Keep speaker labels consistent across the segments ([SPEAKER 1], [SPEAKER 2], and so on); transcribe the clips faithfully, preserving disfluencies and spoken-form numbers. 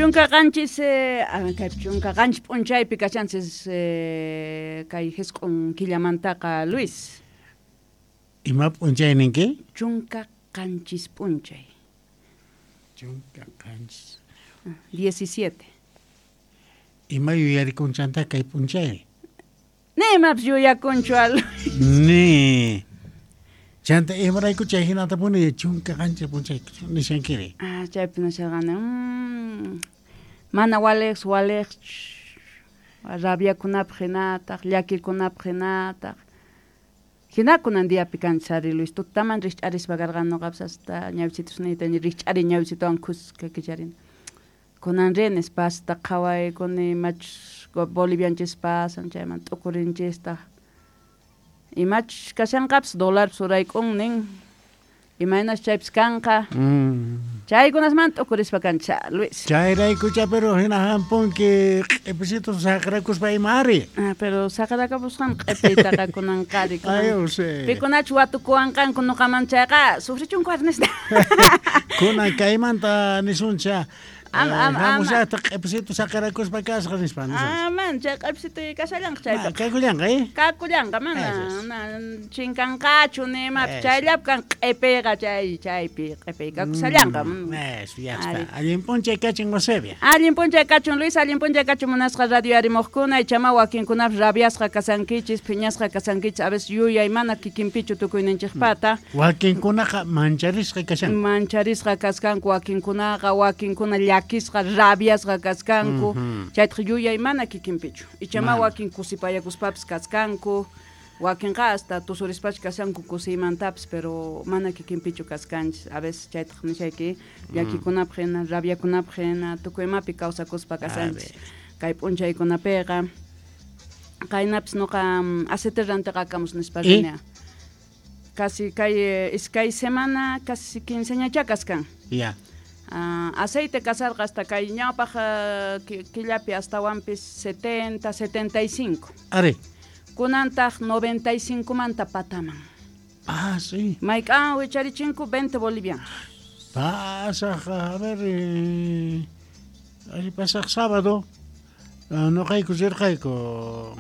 [SPEAKER 1] Chunka qanchis eh, kay chunka qanchis p'unchaypi kashanchis eh, kay jisq'un killamantaqa Luis.
[SPEAKER 2] Ima p'unchay ninki?
[SPEAKER 1] Chunka qanchis p'unchay.
[SPEAKER 2] Chunka qanchis.
[SPEAKER 1] diecisiete.
[SPEAKER 2] Ima yuyarikunchanta kay p'unchay?
[SPEAKER 1] Ni imapis yuyakunchu Luis.
[SPEAKER 2] Ni. Chanta imarayku chay hinatapuni chunka qanchis p'unchay nishankiri.
[SPEAKER 1] Ah, chaypi nisharqani. Mm, mana waliq waliq rabiakunapaq hinataq, llakikunapaq hinataq. Hinakunan diapi kanchis ari Luis, tutaman rikch'arispa karqani nuqapas hasta ñawichitusniyta rikch'ari ñawichituwan kuska kicharini. Kunan rinis pasta qhawaykuni imachus Bolivianchis pasan chayman t'ukurinchistaq. Imachus kashanqapis dólarpis urayk'un nin. Imaynas chaypis kanqa.
[SPEAKER 2] Mm.
[SPEAKER 1] Chaykunasmanta t'ukurispa kanchis Luis.
[SPEAKER 2] Chayraykucha pero hina hampunki q'ipisitu saqrakuspa ima ari.
[SPEAKER 1] Ah, pero saqrakapusqan q'ipiytaqa kunanqa ari.
[SPEAKER 2] Ay, José.
[SPEAKER 1] Pikunachu watukuwanqanku nuqaman chayqa sufrichunku ari nispa.
[SPEAKER 2] Kunan kaymanta nisuncha.
[SPEAKER 1] Am, am, am.
[SPEAKER 2] Hamushaqta q'ipisitu saqrakuspa kasqa nispa nisuncha.
[SPEAKER 1] Ah, man, chay q'ipisitu kashallanqa chaypi.
[SPEAKER 2] Ah, kakullanqa, eh?
[SPEAKER 1] Kakullanqa, mana, na, chinkanqachu ni imapi. Chayllapi kan q'ipiyqa chay, chaypi q'ipiy kakushallanqa.
[SPEAKER 2] Mm, eso, ya está. Allin p'unchay kachun, Eusebia.
[SPEAKER 1] Allin p'unchay kachun, Luis, allin p'unchay kachun munasqa radio arimuqkuna, ichama wakinkunapas rabiasqa kasankichis, phiñasqa kasankichis, a veces yuyay mana kikinpichu tukuyninchikpata.
[SPEAKER 2] Wakinkunaqa mancharisqa kashanku.
[SPEAKER 1] Mancharisqa kaskanku wakinkunaqa, wakinkuna llakisqa, rabiasqa kaskanku. Chaytaq yuyay mana kikinpichu. Ichama wakin kusipayakuspapis kaskanku, wakinqa hasta tusurispacha kashanku kusiymantapis, pero mana kikinpichu kaskanchis. A veces chaytaq nishayki llakikunapaq hina, rabiakunapaq hina, tukuy imapi kawsakuspa kasanchis. Kay p'unchaykunapiqa qaynapis nuqa aceite rantiqakamus nispa rini. Casi kay iskay semana, casi quinceañacha kaskan.
[SPEAKER 2] Ya.
[SPEAKER 1] Uh, aceite kasarqa hasta kay ñawpaq uh, killapi astawanpis setenta, setenta y cinco.
[SPEAKER 2] Ari.
[SPEAKER 1] Kunantaq noventa y cinco manta pataman.
[SPEAKER 2] Ah, sí.
[SPEAKER 1] Mayk'an wicharichinko veinte bolivianos.
[SPEAKER 2] Pasaq, a ver, eh, pasaq sábado, uh, nuqayku rirqayku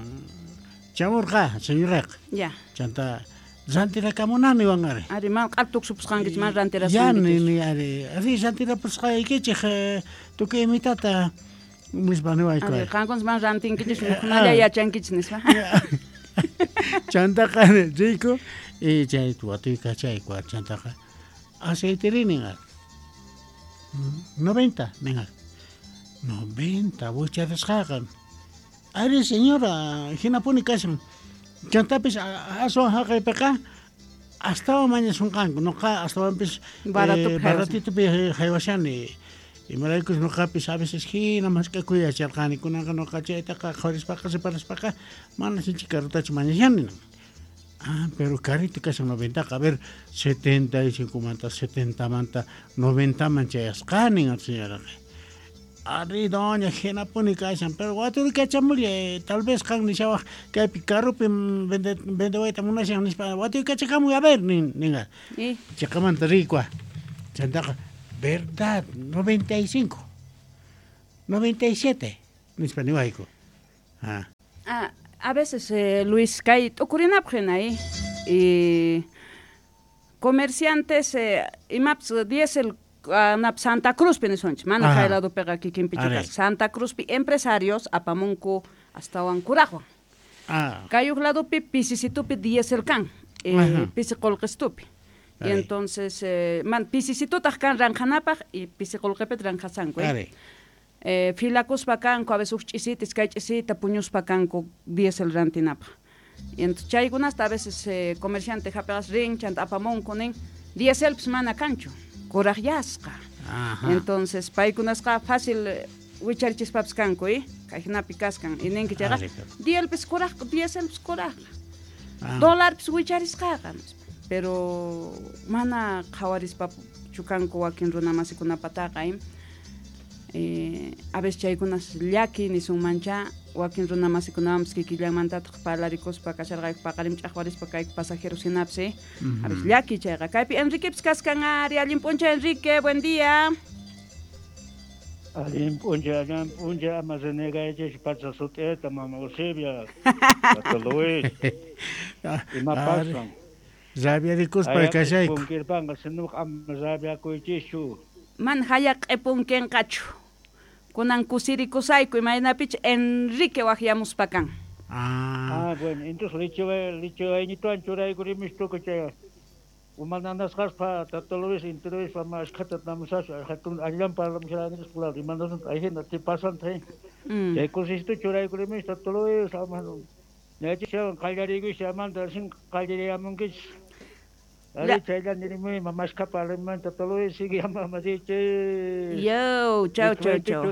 [SPEAKER 2] chamurqa, señoraqa.
[SPEAKER 1] Ya.
[SPEAKER 2] Chanta rantirakamunani wan ari.
[SPEAKER 1] Ari, man q'artuksupusqankichis, man rantirasqankichis.
[SPEAKER 2] Ya, ni, ni, ari, ari rantirapusqaykichik, tukuy imitata nispa niwayku.
[SPEAKER 1] Ari, qankunas man rantinkichis, mukhunalla yachankichis nispa.
[SPEAKER 2] Chantaqa riyku, y chay watuyka chayku, chantaqa aceiteri nin ari. noventa nin ari. noventa, wicharisqaqa. Ari, señora, hinapuni kashan. Chantapis aswan haqaypiqa astawan mañasunqanku, nuqa astawanpis baratitupi haywashani. Imaraykus nuqapis a veces hina mask'akuy yacharqani, kunanqa nuqa chaytaqa qhawarispaqa separaspaqa mana sinchi karutachu mañashani. Ah, pero carito kashan noventaqa, a ver, setenta y cinco manta, setenta manta, noventa man chayasqani, señoraqa. Ari, doña, hinapuni kashan, pero waturikachamulla, tal vez qan nishawaq kaypi carrupi vende vendewayta munashan nispa, waturikachamuy, a ver, nin ninqa. Chiqamanta riykua. Chantaqa, verdad, noventa y cinco, noventa y siete, nispa niwayku. Ah.
[SPEAKER 1] Ah, a veces, eh, Luis, kay t'ukurinapaq hina, eh, y comerciantes, eh, imapas diésel uh, Santa Cruzpi nisunchis, mana kay ladopiqa kikinpichu kasqa. Santa Cruzpi empresarios apamunku astawan kuraqwan.
[SPEAKER 2] Ah.
[SPEAKER 1] Kay huk ladopi pisisitupi diésel kan, eh, pisi qullqistupi. Y entonces, eh, man, pisisitutaq kan ranqhanapaq y pisi qullqipita ranqhasanku. Eh. Eh, filakuspa kanku, a veces huk ch'isita, iskay ch'isita puñuspa kanku diésel rantinapaq. Y entonces chaykunasta a veces eh, comerciante hapiqas rin, chanta apamunku nin, dieselpis mana kanchu, kuraqyasqa. Entonces paykunasqa fácil wicharichispapas kanku, eh, kay hinapi kaskan. Y ninki chayqa, dielpis kuraq, dieselpis kuraq. Dólarpis wicharisqaqa. Pero mana qhawarispa chukanku wakin runa masikunapataqa, eh. Eh, a veces chaykunas llaki nisunmancha, wakin runa masikunawanpis kikillanmantataq parlarikuspa kasharqayku paqarin ch'aqwarispa kayku pasajeros hinapis, eh. A veces llaki chayqa. Kaypi Enriquepis kaskan ari, allin p'unchay Enrique, buen día.
[SPEAKER 3] Allin p'unchay, allin p'unchay, ama renegaychis pacha sut'ita, mama Eusebia, Tata Luis. Ima pasan?
[SPEAKER 2] Rabiarikuspa kashayku.
[SPEAKER 3] Punkirpanqa sinuq ama rabiakuychischu.
[SPEAKER 1] Man haya q'ipunkinqachu. Kunan kusirikusayku imaynapich Enrique waqyamuspa kan.
[SPEAKER 3] Ah, ah bueno, entonces licho licho aynituan churaykurimistuku chay. Umananasqaspa Tata Luis inturispa mashkhata namusaspa hatun allan parlamusharanchis claro imanasanta ahina ti pasanta chay kusistu churaykurimish Tata Luis ama ñachishawan qallariykush amanta sin qallariyamunkichis ari chaylla nirimi mashkha parliman Tata Luis sigue amamasichis.
[SPEAKER 1] Yo, chau chau chau.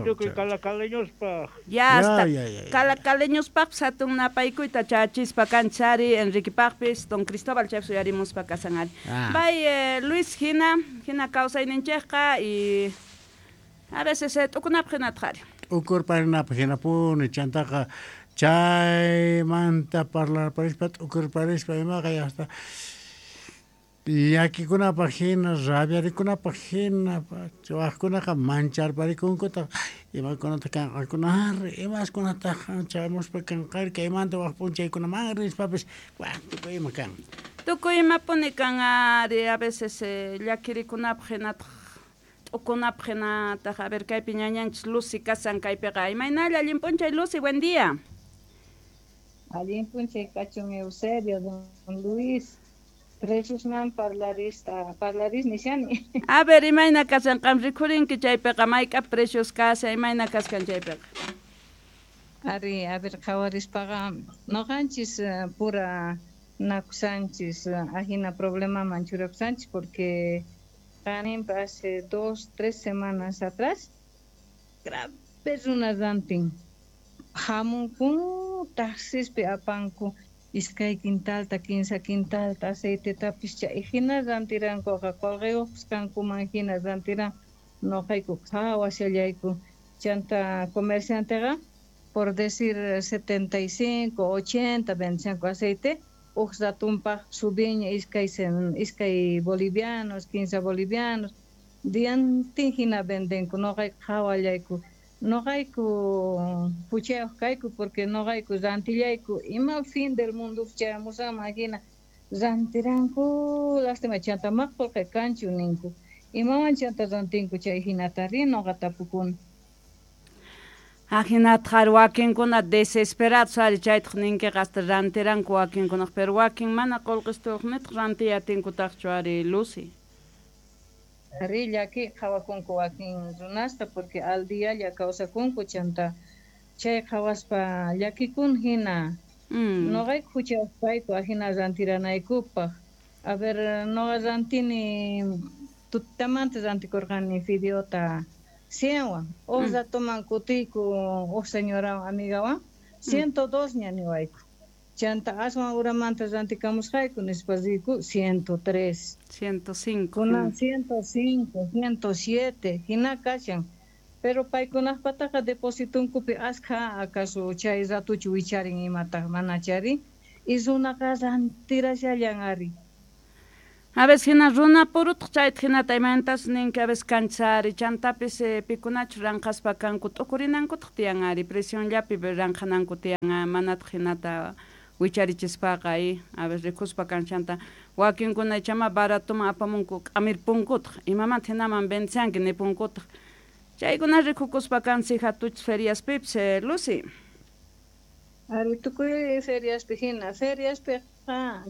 [SPEAKER 3] Tukuy calacaleñospaq.
[SPEAKER 1] Ya hasta calacaleñospaq hatun napaykuyta chachispa kanchari Enriquepaqpis don Cristóbal chaypi suyarimuspa kasan ari. Bay eh, Luis hina hina kawsayninchikqa y a veces eh, t'ukunapaq hinataq ari.
[SPEAKER 2] T'ukurparinapaq hinapuni chantaqa chaymanta parlarparispa t'ukurparispa imaqa hasta llakikunapaq hina, rabiarikunapaq hina, waqkunaqa mancharparikunkutaq imakunata kanqakunari, imaskunataq chamuspa kanqari, kaymanta waq p'unchaykunaman rispapis, waq tukuy ima kan.
[SPEAKER 1] Tukuy imapuni kan ari, a veces eh, llakirikunapaq hinataq t'ukunapaq hinataq, a ver kaypi ñañanchis Lucy kasan kaypiqa, imaynalla allin p'unchay Lucy, buen día.
[SPEAKER 4] Allin p'unchay kachun Eusebio, don Luis. Preciosman parlarista, parlaris nishani.
[SPEAKER 1] A ver, imayna kasan qam rikhurinki chaypiqa mayk'a precios kasa, imayna kaskan chaypiqa.
[SPEAKER 4] Ari, a ver, qhawarispaqa noqanchis pura nakusanchis, ajina problemaman churakusanchis porque qaninpa hace dos, tres semanas atrás grave runa rantin hamunkun taxispi apanku iskay quintalta, kinsa quintalta, aceitetapis chay hina rantirankuqa qolqiyuqpis kankuman hina rantiran noqayku qhawashallayku chanta comercianteqa por decir setenta y cinco, ochenta vendíanku aceite uj ratumpaq subiña iskay iskay bolivianos, quince bolivianos diantin hina vendenku noqayku qhawallayku noqayku puchayuq kayku porque noqayku rantillayku ima fin del mundo chayamusama hina rantiranku lástima chanta maq qolqe kanchu ninku imawan chanta rantinku chay hinata ri noqa tapukuni.
[SPEAKER 1] Ajinataq wakinkuna desesperados ari chaytaq ninkiqa hasta rantiranku wakinkunaq pero wakin mana qolqistuyuq nitaq rantiyatinkutaqchu ari Lucy.
[SPEAKER 4] Ari llaki qhawakunku wakin runasta porque al dialla kawsakunku chanta chay qhawaspa llakikun hina
[SPEAKER 1] mm.
[SPEAKER 4] Noqayku huchayuqpayku ajina rantiranaykupaq. A ver, noqa rantini tutamanta rantikurqani fideota cienwan uj
[SPEAKER 1] mm.
[SPEAKER 4] ratuman kutiyku uj señorawan amigawan ciento dos ña niwayku chanta aswan uramanta rantikamusqayku nispa riyku ciento tres
[SPEAKER 1] ciento cinco
[SPEAKER 4] kunan ciento cinco, ciento siete hina kashan pero paykunaqpataqa depositunkupi askha acaso chay ratuchu wicharin imataq manachari y runaqa rantirashallan ari.
[SPEAKER 1] A veces hina runa purutaq chaytaq hinata imaynatachus ninki a veces kanchari chantapis eh, pikunachu ranqaspa kanku t'ukurinankutaq tiyan ari presionllapi ranqananku tiyan manataq hinata wicharichispaqa y a veces rikuspa kanchanta wakinkuna ichama baratoman apamunku k'amirpunkutaq imamanta hinaman vendesanki nipunkutaq chaykuna rikukuspa kansi hatuchis feriaspipis eh, Lucy.
[SPEAKER 4] Ari tukuy feriaspi hina feriaspi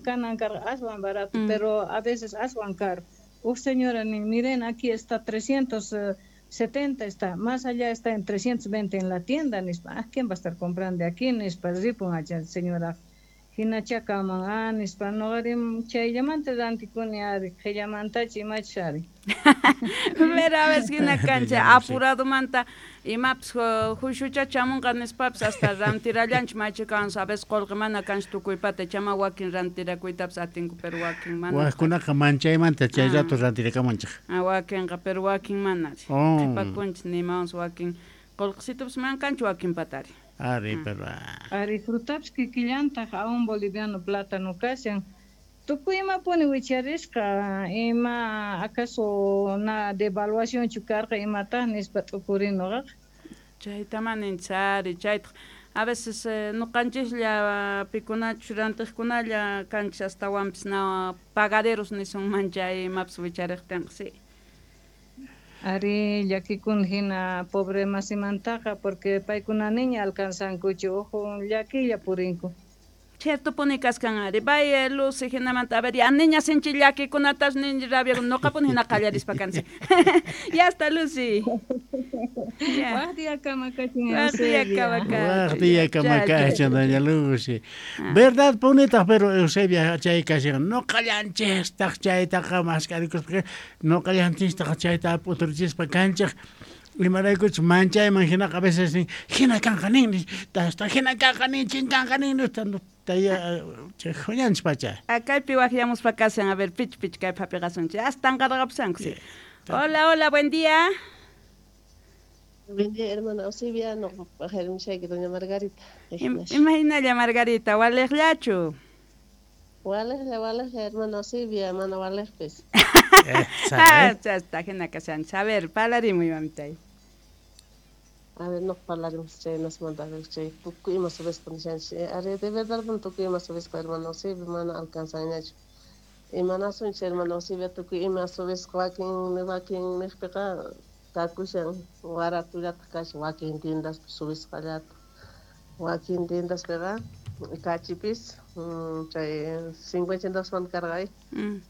[SPEAKER 4] kanan karqa aswan barato
[SPEAKER 1] mm.
[SPEAKER 4] pero a veces aswan caro. Uj señora nin miren aquí está trescientos setenta está, más allá está en trescientos veinte en la tienda nispa, ah, ¿quién va a estar comprando aquí nispa ripun acha señora hinachakaman ah nispa noqarim chayllamanta rantikuni ari qhillamantachi imachis ari.
[SPEAKER 1] Pero a veces hina kancha apuradomanta imapis hushucha chamunqa nispapis hasta rantirallanchik maychikanchik a veces qolqe mana kanchu tukuypata chama wakin rantirakuytapis atinku pero wakin mana.
[SPEAKER 2] Waqkunaqa manchaymanta chay rato rantirakamunchik.
[SPEAKER 1] Ah, wakinqa pero wakin mana.
[SPEAKER 2] Oh.
[SPEAKER 1] Qhipakunchik nimawansi wakin qolqesitupis mana kanchu wakin patari.
[SPEAKER 2] Ari, pero
[SPEAKER 4] Ari frutapis kikillantaq a un boliviano plátano kashan Tukuy imapuni wicharisqa, ima acaso na devaluación chu karqa imata nispa t'ukurin nuqaqa.
[SPEAKER 1] Chayta maninchari, chaytaq a veces eh, nuqanchislla pikunachu rantiqkunalla kanchis astawanpis na pagaderos nisunman chay imapas wichariqtinqa sí.
[SPEAKER 4] Ari llakikun hina pobre masimantaqa porque paykuna niña alcanzankuchu uhu llakilla purinku.
[SPEAKER 1] Cierto puni kaskan ari bay Lucy hinamanta a ver ya niña sinchi llakikunatas niña rabia nuqapuni hina qallarispa kansi. Ya está Lucy.
[SPEAKER 4] Waq día kamakachin
[SPEAKER 1] Waq día
[SPEAKER 2] Eusebia. Waq día kamakachin doña Lucy. Verdad punitaq pero Eusebia chay kashan nuqallanchistaq chaytaqa mask'arikuspa nuqallanchistaq chayta p'uturichispa kanchik. Imaraykuchus manchayman hinaqa a veces nin hina kanqa nin hasta hina kanqa nin chinkanqa nin taya huñanchis pacha.
[SPEAKER 1] Kaypi waqyamuspa kashan a ver pich pich kay phapiqasunchik hasta tanqarqapusanku sí. Hola, hola, buen día.
[SPEAKER 5] Buen día, hermana Eusebia, no, pajarumshayki doña Margarita.
[SPEAKER 1] Imahinalla Margarita, waliqllachu.
[SPEAKER 5] Waliqlla, waliqlla, hermana Eusebia, mana waliqpis.
[SPEAKER 1] Ah, chasta hina kashanchis. A ver, parlarimuy mamitay.
[SPEAKER 5] A ver, no parlarimos chay nasmanta chay tukuy ima subispa nishanchis. Ari de verdad tukuy ima subispa hermana Eusebia, mana alcanzañachu. Imanasunchis hermana Eusebia, tukuy ima subisqa wakin wakin niqpiqa kakushan waratullataq kashan wakin tiendaspi subisqallata. Wakin tiendaspiqa kachipis chay cincuenta centavosmanta karqa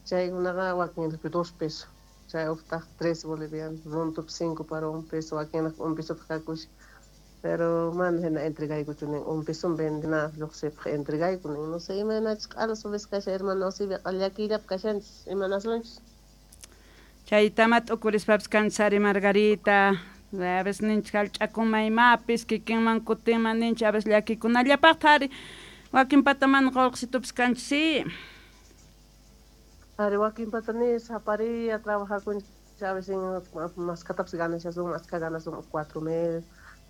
[SPEAKER 5] chaykunaqa wakinpi dos pesos. Chay uqtaq tres bolivianos, runtupi cinco para un peso, wakinqa un pesotaq kakushan. Pero mana hina entregaykuchu nin un peso vendena lluqsipaq entregayku nin no sé imaynachus q'ala subisqa kashan hermana Eusebia llakillapi kashanchis imanasunchis.
[SPEAKER 1] Chaytama t'ukurispapis kanchis ari Margarita. A veces ninchik hallch'akuma imapis kikinman kutinman ninchik a veces llakikunallapaqta ari wakinpata mana qullqisitupis kanchis sí.
[SPEAKER 5] Ari wakinpata ni saparia trabajakunchik a veces maskatapis ganashasunman askha ganasunman cuatro mil,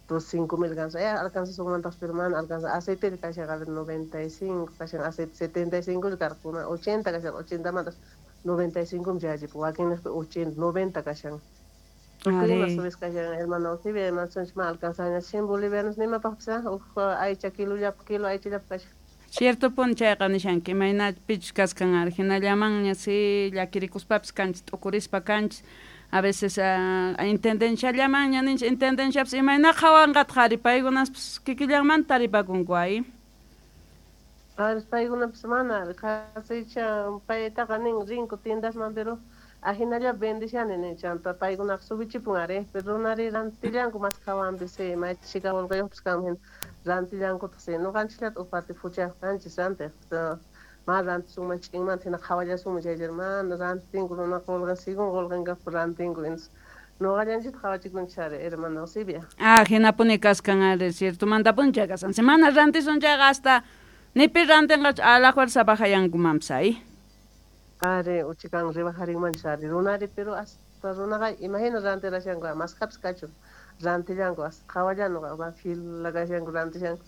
[SPEAKER 5] dos cinco mil ganasun eh alcanzasunmantaqpis pero mana alcanza aceite kashan a ver noventa y cinco kashan aceite setenta y cinco karqa ochenta kashan ochentamanta noventa y cinco chayachipu wakinniqpi ochenta noventa kashan. Tukuy ima subisqa kashan hermana Eusebia imasunchis mana alcanzaña cien bolivianos nimapaqpis uj aycha kilollapaq kilo aychallapaq kashan.
[SPEAKER 1] Cierto puni chayqa nishanki imayna pichus kaskan ari hinallamanña sí llakirikuspapis kanchis t'ukurispa kanchis a veces uh, intendenciallamanña ninchis intendenciapis imayna qhawanqataq ari paykunaspis kikillanmanta taripakunku ay.
[SPEAKER 5] Ari paykunapis mana qhasicha paytaqa nin rinku tiendasman pero ajinalla vendishani nin chanta paykunaqa subichipun ari pero runari rantillanku mas qhawanpis sí may chhika qullqiyuqpis kanman hina rantillankutaq sí nuqanchikllata uqpati phuchayuq kanchis rantiq ma rantisunman ch'inmanta hina qhawallasunman chaychari mana rantinku runaqa qullqin según qullqin kaqpi rantinku entonces nuqallanchikta qhawachikunchis ari hermana Eusebia.
[SPEAKER 1] Ah, hinapuni kaskan ari ciertomantapuni chay kashan si mana rantisun chayqa hasta nipi rantinqachu a la fuerza bajayankumanpis ay.
[SPEAKER 5] Ari uchikan rebajarinmanchis ari runari pero hasta runaqa imahina rantirashanku maskapis kachun rantillanku hasta qhawallan fila kashanku rantishanku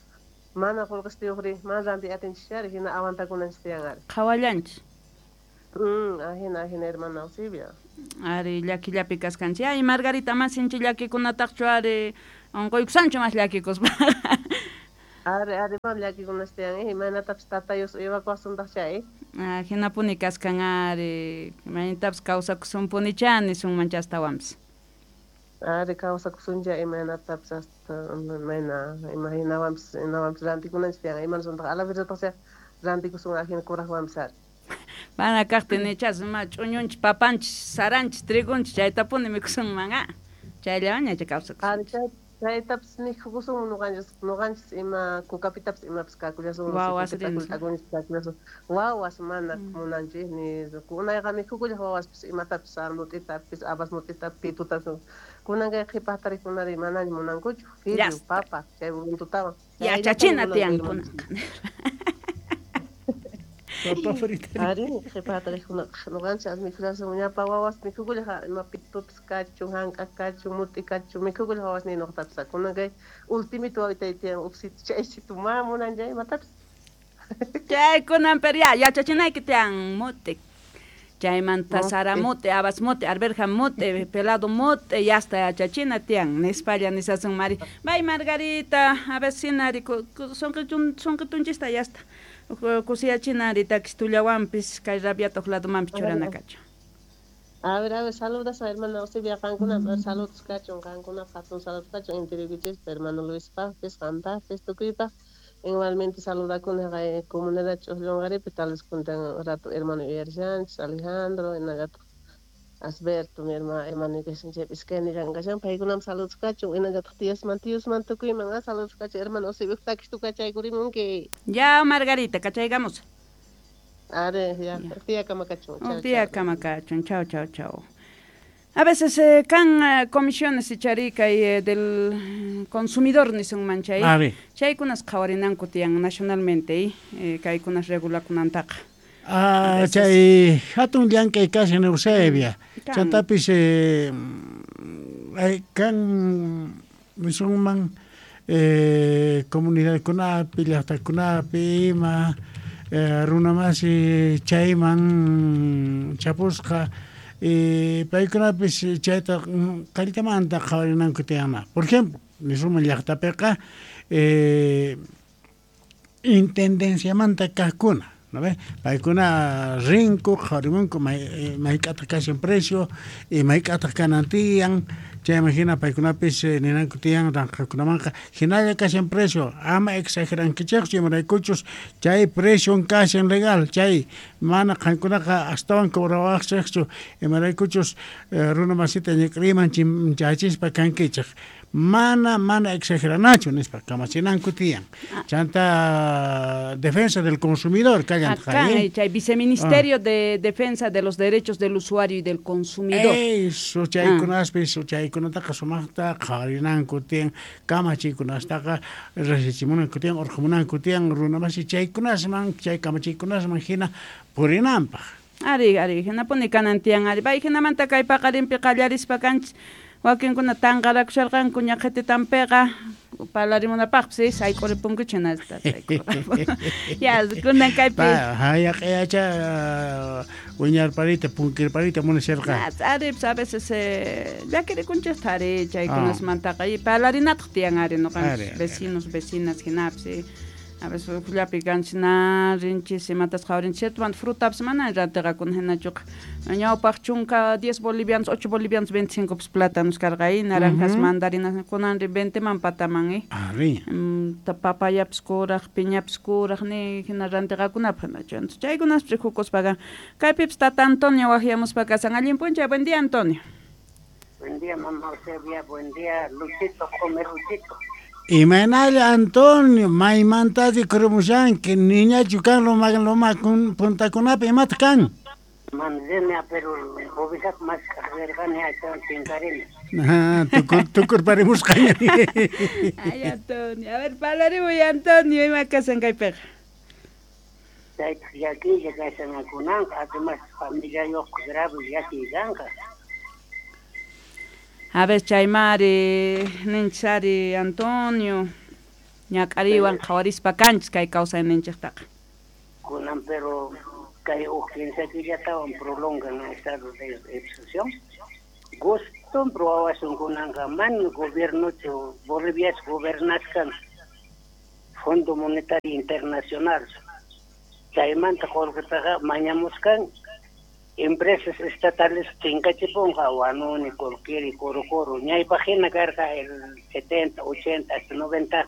[SPEAKER 5] mana qullqistiyuqri mana rantiy atinchis ari hina aguantakunanchis tiyan ari.
[SPEAKER 1] Qhawallanchis.
[SPEAKER 5] Mm, ahina ahina hermana Eusebia.
[SPEAKER 1] Ari llakillapi kaskanchis. Ay Margarita mas sinchi llakikunataqchu ari unquykusanchu mas llakikuspa.
[SPEAKER 5] Ari ari mam llakikunas tiyan imaynatapis tatayus uywakuwasuntaq chay.
[SPEAKER 1] Ah, hinapuni kaskan ari imaynatapis kawsakusunpunicha nisunmancha astawanpis.
[SPEAKER 5] Ari kawsakusuncha imaynatapis hasta imayna imahinawanpis inawanpis rantikunanchis tiyan imanasuntaq a la verdadtaq chay rantikusun ahina kuraqwanpis ari.
[SPEAKER 1] Mana kaqtin nichas ima ch'uñunchis papanchis saranchis trigunchis chaytapuni mikusunman ah chayllawanña chay kawsakusunchis.
[SPEAKER 5] Ari chay chaytapis mikhukusunman nuqanchis nuqanchis ima kukapitapis imapis kakullasunman
[SPEAKER 1] Wawas
[SPEAKER 5] kakullasun wawas mana munanchis ni kunayqa mikhukullaq wawaspis imatapis sara mut'itapis habas mut'itapis pitutapis kunan kay qhipa hatariqkunari manaña munankuchu fideo papa chay runtutawan
[SPEAKER 1] yachachina tiyan kunanqa.
[SPEAKER 2] Papa frita.
[SPEAKER 5] Ari qhipa hatariqkunaqa nuqanchis mikhullasun ñapa wawas mikhukullaq ima pitupis kachun hank'a kachun mut'i kachun mikhukullaq wawas ni nuqatapis kunan kay ultimito wawitay tiyan uqsitu chaysitu mana munan chay imatapis.
[SPEAKER 1] Chaykunan pero ya yachachinayki tiyan mote. Chaymanta sara mote, habas mote, arberja mote, pelado mote, yasta yachachina tiyan nispalla nisasun mari. Bay Margarita, a ver sinari sonqitunchista yasta. Kusiyachinari takistullawanpis kay rabiata huk ladomanpis churana kachun.
[SPEAKER 5] A ver, a ver, saludas a hermana Eusebia qankuna, saludos kachun qankuna, hatun saludos kachun intiriykichis, hermano Luis Pajpis, qampajpis, tukuypaj. Igualmente saludakuna kay comunidad Ch'uqllunqaripi, tal vez kuntan rato hermano yuyarishanchis, Alejandro, hinallataq Asberto, mi hermano, hermano kashan chaypi iskaynillan kashan, paykunam saludos kachun, hinallataq tiyasman, tiyusman tukuyman, ah, saludos kachun, hermano Eusebio, takistu kachaykurimunki.
[SPEAKER 1] Ya, Margarita, kachaykamos.
[SPEAKER 5] Are, ya, tiyakama kachun.
[SPEAKER 1] Chao, tiyakama kachun, chao, chao, chao. A veces eh, kan eh, comisiones icharika y eh, del consumidor nisunman chay. Chaykunas qhawarinanku tiyan nacionalmente eh, kaykunas regulakunantaqa.
[SPEAKER 2] Ah, chay hatun llank'ay kashan Eusebia. Chantapis eh, kan nisunman eh, comunidadkunapi, llaqtakunapi ima eh, runamasi chayman chapusqa eh, paykunapis chayta qalltamanta qhawarinanku tiyana. Por ejemplo, nisunman llaqtapiqa eh, intendenciamanta kaqkuna, ¿no ve? Paykuna rinku, qhawarimunku may, mayk'ataq kashan precio y mayk'ataq kanan tiyan, chayman hina paykunapis ninanku tiyan ranqakunamanqa hinalla kashan precio, ama exagerankichikchu imaraykuchus chay precio kashan legal, chay mana qankunaqa astawan cobrawaqchikchu imaraykuchus runa masita ñik'riman chachispa kankichik. Mana, mana exageranachu nispa kamachinanku tiyan. Chanta defensa del consumidor
[SPEAKER 1] acá chay viceministerio ah. de defensa de los derechos del usuario y del consumidor.
[SPEAKER 2] Eso chaykunaspis chaykunataqa sumaqta qhawarinanku tiyan, kamachiykunastaqa rasichimunanku tiyan, urqumunanku tiyan runamasi chaykunasman, chay kamachiykunasman hina purinanpaq.
[SPEAKER 1] Ari, ari, hinapuni kanan tiyan ari. Bay hinamanta kay paqarinpi qallarispa kanchis wakinkuna tanqarakusharqanku ñaqhititanpiqa parlarimunapaqpis sayk'uripunkuchu hinasta ya kunan kaypi
[SPEAKER 2] hayaq'ayacha wiñarparita punkirparita munasharqa
[SPEAKER 1] ari a veces llakirikunchikta ari chaykunasmantaqa y parlarinataq tiyan ari ñuqanchis vecinos vecinas hinapis a veces llapi kanchis na rinchis imatas qhawarinchis cierto frutapis mana rantiqakuna hinachuqa ñawpaq chunka diez bolivianos ocho bolivianos veinticinco plátanos karqa y naranjas mandarinas kunanri veinte man pataman eh
[SPEAKER 2] ari
[SPEAKER 1] papayapis kuraq piñapis kuraq ni hina rantiqakunapaq hinachu entonces chaykunaspi rikukuspaqa kaypipis tata Antonio waqyamuspa kasan allin p'unchay. Buen día, Antonio.
[SPEAKER 6] Buen día, mamá Eusebia, buen día, Luchito, come Luchito.
[SPEAKER 2] Imaynalla Antonio, maymantari kurumushanki, niñachu kan loma loma puntakunapi imataq kan?
[SPEAKER 6] Manzena, pero ovejat más rirqani astawan chinkarini.
[SPEAKER 2] Ah, tukur tukurparimusqaña.
[SPEAKER 1] Ay, Antonio, a ver, parlarimuy Antonio, ima kasan kaypiqa?
[SPEAKER 6] Chaytaq llakiylla kashan kunanqa, además familiayuq grave llakiy kanqa.
[SPEAKER 1] A ver, chaymari, ninchari, Antonio, ñak'ariwan qhawarispa kanchis kay kawsayninchiktaqa.
[SPEAKER 6] Kunan pero kay huk kinsa killatawan prolongan estado de excepción. Guston probawasun kunanqa man gobiernochu Boliviachu gobernaskan Fondo Monetario Internacional. Chaymanta qullqitaqa mañamuskan empresas estatales chinkachipunqa Huanuni, Colquiri, Coro Coro, ñaypaq hina karqa el setenta, ochenta, hasta noventa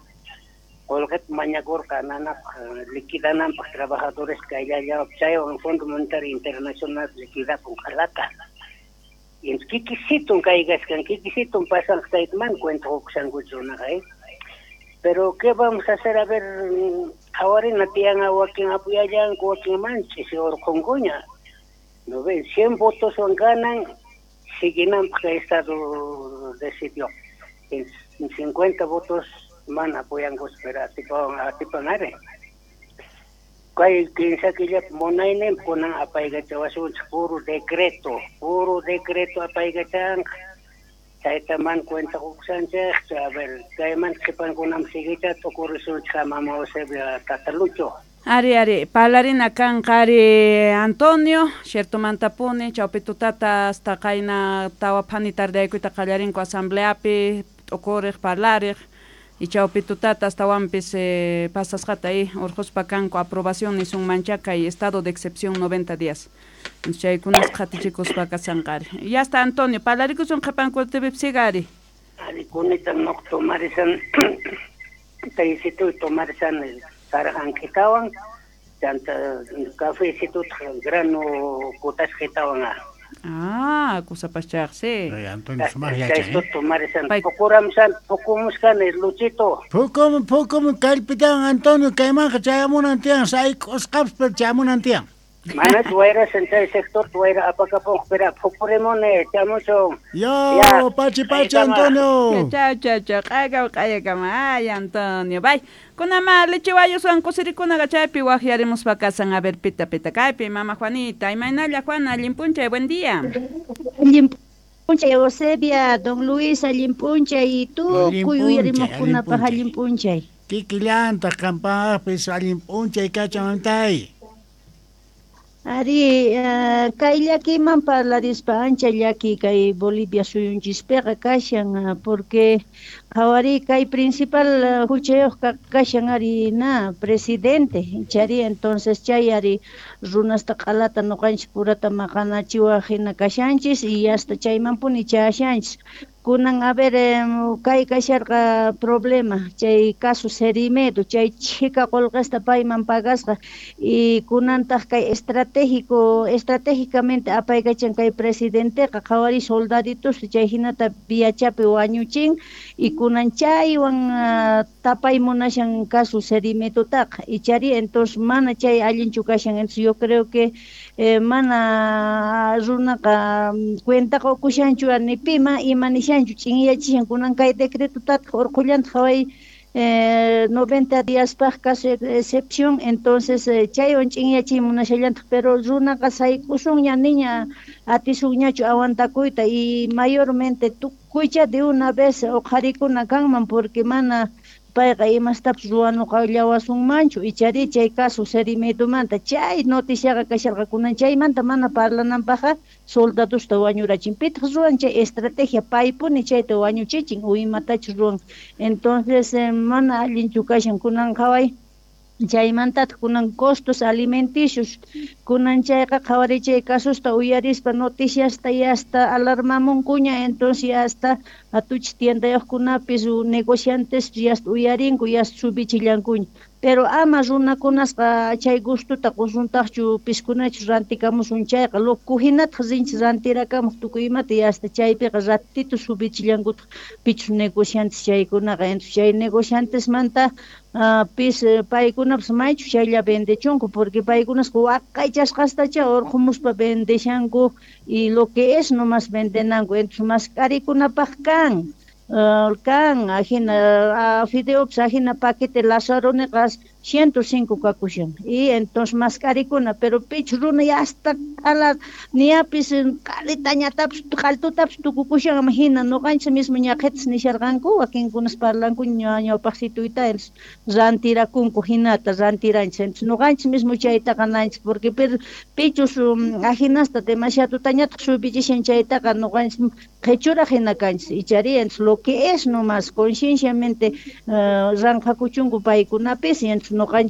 [SPEAKER 6] qullqita mañakurqa nanapaq liquidananpaq trabajadores kayllallawap chaywan Fondo Monetario Internacional liquidapun qalata. Kikisitun kaykaskan, kikisitun pasanqa chayta mana cuenta qukushankuchu runaqa eh. Pero ¿qué vamos a hacer? A ver, qhawarina tiyan wakin apuyallanku, wakin manchis urqunkuña. No ven, cien votos ganan, siguinanpaq kay estado decidió. En cincuenta votos mana apoyanku, pero atipan atipan ari. Kay kinsa killap munaynin kunan apaykachawasunchik puro decreto, puro decreto apaykachanqa. Chayta man cuenta qukushanchikchu, a ver, kayman qhipankunam siguicha tukurisunchik mama Eusebia tata Lucho.
[SPEAKER 1] Ari, ari, parlarina kanqa ari Antonio, ciertomantapuni, chawpi tutata hasta qayna tawa phani tardeaykuyta qallarinku asambleapi, t'ukuriq, parlariq, y chawpi tutata astawanpis eh, pasasqata y urquspa kanku aprobación nisunmancha kay estado de excepción noventa días. Chaykunas qhatichikuspa kashanqa ari. Ya está Antonio, parlarikusun qhipan kutipipsiga ari.
[SPEAKER 6] Ari kunita noq tomarisan taysitu tomarisan sarajankitawan chanta cafecituta grano kutasqitawan.
[SPEAKER 1] Ah, kusapaschaq, sí.
[SPEAKER 2] Ay, Antonio sumaq yachan,
[SPEAKER 6] Chaystu
[SPEAKER 2] eh?
[SPEAKER 6] tomarisan
[SPEAKER 1] Pay-
[SPEAKER 6] pukuramsan pukumusqani Luchito.
[SPEAKER 2] Pukum pukum kallpitawan Antonio kaymanqa chayamunan tiyan sayk'usqapas pero chayamunan tiyan.
[SPEAKER 6] Manach wayrasan chay sector wayra apakapunqa pero pukurimuni chamuchun.
[SPEAKER 2] Yo,
[SPEAKER 6] Ya,
[SPEAKER 2] pachi pachi
[SPEAKER 6] kaykama.
[SPEAKER 2] Antonio.
[SPEAKER 1] Chao, chao, chao. Q'ayakama, q'ayakama. Ay, Antonio. Bye. Kunama lechiwayuswan kusirikunaqa chaypi waqyarimuspa kasan. A ver, pita, pita. Kaypi, mama Juanita. Imaynalla, Juana, allin p'unchay, buen día.
[SPEAKER 7] Allin p'unchay, Eusebia, don Luis, allin p'unchay, y
[SPEAKER 2] Allin
[SPEAKER 7] tukuy
[SPEAKER 2] p'unchay,
[SPEAKER 7] uyarimuqkunapaq
[SPEAKER 2] allin
[SPEAKER 7] allin p'unchay.
[SPEAKER 2] Kikillantaq qampaqpis allin p'unchay kachan mamtay.
[SPEAKER 7] Ari, eh, kay llakiyman parlarispa ancha llaki kay Bolivia suyunchispiqa kashan, ah, porque qhawari kay principal eh, huchayuq kashan ari na presidente, chari entonces chay ari runasta q'alata nuqanchis purata maqanachiwaq hina kashanchis y hasta chaymanpuni chayashanchis. Kunan a ver eh, kay kasharqa problema chay caso Cerimedo chay chhika qullqista payman pagasqa y kunantaq kay estratégico estratégicamente apaykachan kay presidenteqa qhawari soldaditos chay hinata viachapi wañuchin y kunan chaywan uh, tapay munashan caso Cerimedotaqa y chari entonces mana chay allinchu kashan. Entonces yo creo que eh, mana runaqa cuenta qukushanchu ni pima ima nishanchu ch'inyachishan kunan kay decretotataq urqullantaq qhaway eh, noventa díaspaq caso de excepción. Entonces eh, chaywan ch'inyachiy munashallantaq pero runaqa sayk'usunña niña atisunñachu aguantakuyta y mayormente tukuycha de una vez uqharikuna kanman porque mana payqa imastapis ruwanuqallawasunmanchu y chari chay caso Cerimedomanta chay noticiaqa kasharqa kunan chaymanta mana parlananpaqqa soldadosta wañurachin pitaq ruwan chay estrategia paypuni chayta wañuchichin o imatachus ruwan. Entonces eh, mana allinchu kashan kunan qhaway chaymantataq kunan costos alimenticios kunan chayqa qhawari chay casosta uyarispa noticiasta y hasta alarmamunkuña. Entonces hasta atuchis tiendayuqkunapis o negociantes y hasta uyarinku y hasta subichillankuña pero ama runakunasqa chay gustuta qusuntaqchu piskunachus rantikamusun chayqa loco hinataq rinchis rantirakamuq tukuy imata y hasta chaypiqa ratito subichillankutaq pichus negociantes chaykunaqa. Entonces chay negociantesmanta uh, pis paykunapas maychu chaylla vendechunku porque paykunasqa waqaychasqastacha urqumuspa vendeshanku y lo que es nomás vendenanku. Entonces mask'arikunapaq kan Uh, kan ajina uh, fideopas ajina paquete Lazaroniqas ciento cinco kakushan y entonces mask'arikuna pero pich runa y hasta q'ala niyapis qalitañatapis qaltutapis tukukushan ama hina nuqanchis mismo ñaqhitas nisharqanku wakinkunas parlanku ñawpaqsituyta rantirakunku hinata rantiranchis. Entonces nuqanchis mismo chaytaqa nanchis porque pero pichus um, ajinasta demasiadutañataq subichishan chaytaqa nuqanchis qhichuraq hina kanchis y chari entonces lo que es nomás concienciamente uh, ranqakuchunku paykunapis y entonces nuqanchis